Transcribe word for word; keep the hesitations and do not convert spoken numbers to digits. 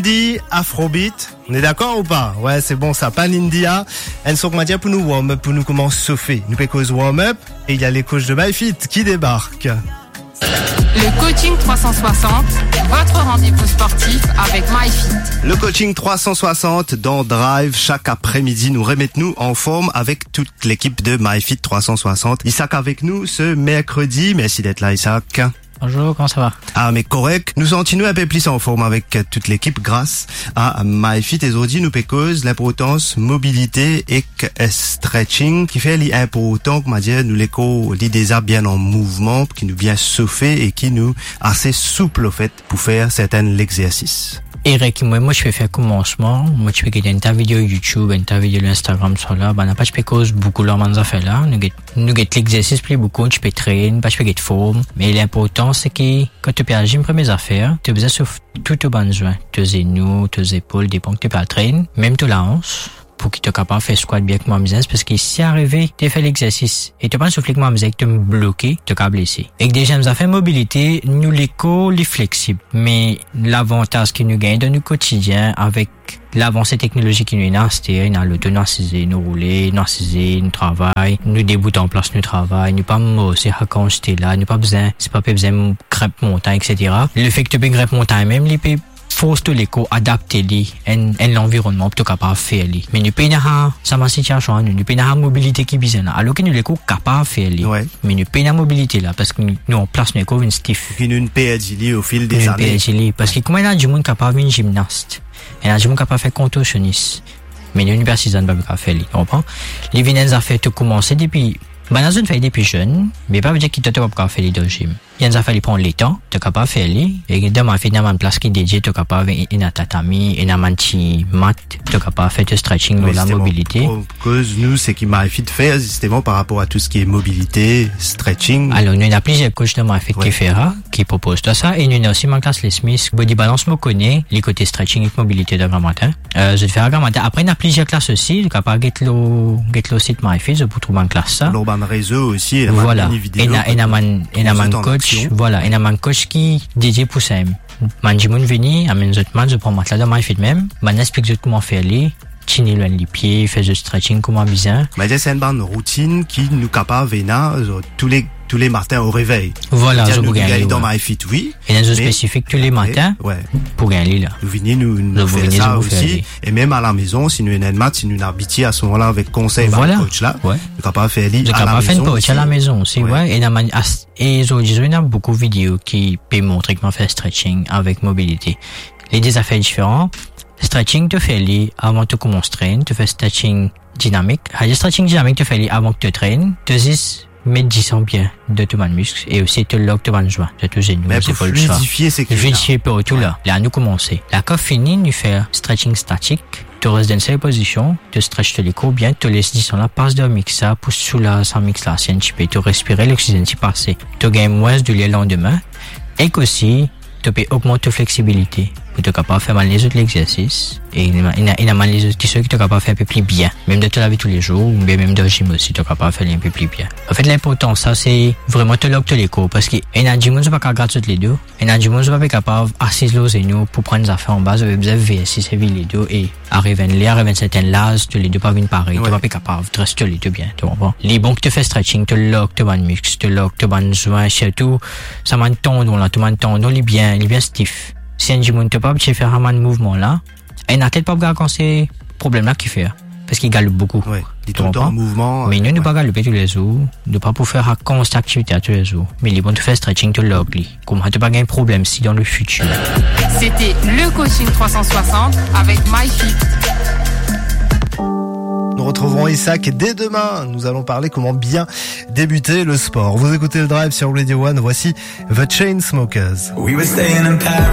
Indie, Afrobeat. On est d'accord ou pas ? Ouais, c'est bon ça, pas India. Enn son, kouma dir, pou nou warm up, pou nou koumans sofe. Nou pe koz warm up, et il y a les coachs de MyFit qui débarquent. Le coaching trois cent soixante, votre rendez-vous sportif avec MyFit. Le coaching trois cent soixante dans Drive. Chaque après-midi, nous remettons nous en forme avec toute l'équipe de MyFit trois cent soixante. Isaac avec nous ce mercredi. Merci d'être là, Isaac. Bonjour, comment ça va ? Ah, mais correct. Nou santi nou enn pe plis anform avek, euh, toute l'équipe grâce à MyFit. E zordi nou pe koz linportans mobilite ek, euh, stretching, ki fer li inportan, kouma dir, nou lekor li deza bien an mouvman, ki nou bien sofe e ki nou ase soup, anfet, pou fer sertin lexersis. Erek, mwa, mwa, ti pe fer koumansman, mwa, ti pe get enn ta video YouTube, enn ta video Instagram, sa la, bann la pa ti pe koz boukou lor bann zafer la. Nou get, nou get lexersis pli boukou, ti pe train, pa ti pe get form. Me linportan, se ki kan to pe al gym, premie zafer, to bizin sof tou to bann zwin, to zenou, to zepol, depan ki to pe al train, mem to laans, pou ki to kapav fer squat bien kouma bizin, parski si arive to fer lexersis e to pa sof li kouma bizin, to bloke, to kapav blese. Ek deziem zafer, mobilite, nou lekor li fleksib, me lavantaz ki nou gagn dan nou kotidien avek lavanse teknolozi ki nou ena aster, ena loto, nou asize, nou roule, nou asize, nou travay, nou debout an plas, nou travay, nou pa morse, sa kan ti la, nou pa bizin, si pa pe bizin grinp montagn, et cetera. Lefek to pe grinp montagn mem, li pe fors to lekor adapte li enn, enn lanvironnman pou to kapav fer li. Me nou pena sa, sa bann sitiasion, nou, nou pena sa mobilite ki bizin la. Alor ki nou lekor kapav fer li. Wi. Me nou pena mobilite la, parski nou, nou an plas, nou lekor vinn stif. Ki nou perdi li o fil de zane. Nou perdi li. Parski kouma ena dimoun kapav vinn gimnas, ena dimoun kapav fer kontorsionis, me nou, nou pe asize, nou pa kapav fer li, to konpran? Li vinn enn zafer to koumanse depi, bann la zot fer depi zenn, me pa vedir ki to, to pa kapav fer li dan gim. Enn zafer li pran letan, to kapav fer li. E dan MyFit ena bann plas ki dedie, to kapav, ena tatami, ena bann ti mat, to kapav fer to stretching, wi, lor la, zisteman, mobilite. Pou koz nou, seki MyFit fer, zisteman, par rapor a tou seki mobilite, stretching. Alor, nou ena plizier coach dan MyFit, wi, ki fer sa, ki propoz twa sa, e nou ena osi bann klas Les Mis, Body Balance, mo kone, li kote stretching ek mobilite dan gramatin. Euh, zot fer gramatin. Apre, ena plizier klas osi, to kapav get lor, get lor sit MyFit, zot pou trouv bann klas sa. Lor bann rezo osi, ena bann video, ena, ena bann, ena bann coach, vwala, ena bann coach ki dedie pou sa. Bann dimoun vini, amenn zot mat, zot pran matla dan MyFit mem, bann la explik zot kouma fer li, tini lwin lipie, fer zot stretching kouma bizin. Be, se enn bann routinn ki nou kapav ena, euh, tou le, tou le matin o revey. Vwala, zot pou gagn li, wi. Ena zot spesifik tou le matin pou gagn li la. Nou vini, nou, nou fer sa osi. E mem alamezon, si nou ena enn mat, si nou abitie a se moman la avek konsey bann coach la, nou kapav fer li alamezon osi. Zot kapav fer enn parti alamezon osi, wi. Ena bann, e zordi, ena boukou video ki pe montre kouma fer stretching avek mobilite. Li de zafer diferan. Stretching, to fer li avan to koumans train, to fer stretching dinamik. Sa stretching dinamik, to fer li avan ki to train, to zis met disan bien dan to bann misk e osi to larg to bann zwin, to zenou, zepol, tousa. Fluidifie seki la. Fluidifie partou la. La nou koumanse. La kan fini, nou fer stretching statik. To res dan enn sel pozision, to stretch to lekor bien, to les disan la pas dan misk la pou soulaz sa misk la, si enn tipe, to respire, loksizenn ti pase, to gagn mwins douler landime. Ek osi, to pe ogmant to fleksibilite pou to kapav fer bann lezot lexersis. E ena, ena, ena bann lezot kisoz ki to kapav fer enn pe pli bien, mem dan to lavi toulezour, oubien mem dan gim osi, to kapav fer li enn pe pli bien. Anfet, linportan sa, se vreman to larg to lekor, parski ena dimoun, zot pa kapav grat zot ledo, ena dimoun, zot pa pe kapav asiz lor zenou pou pran zafer anba, zot pe bizin versi, servi ledo, e ariv enn ler, ariv enn sertin laz, to ledo pa vinn parey, to pa pe kapav dres to ledo bien, to konpran? Li bon ki to fer stretching, to larg to bann misk, to larg to bann zwin, sirtou sa bann tandon la, to bann tandon, li bien, li bien stif. Si enn dimoun, to pa abitie fer sa bann mouvman la, enn atlet pa pou gagn kan se problem la ki fer, parski li galoup boukou. Wi, li toultan an mouvman. Me nou, nou pa galoupe toulezour, nou pa pou fer sa kantite aktivite la toulezour. Me li bon to fer stretching, to larg li. Kouma to pa gagn problem si dan le fitir. C'était le coaching trois cent soixante avec MyFit. Nous retrouverons Isaac dès demain. Nous allons parler comment bien débuter le sport. Vous écoutez le Drive sur Radio One. Voici The Chainsmokers. We were staying in Paris.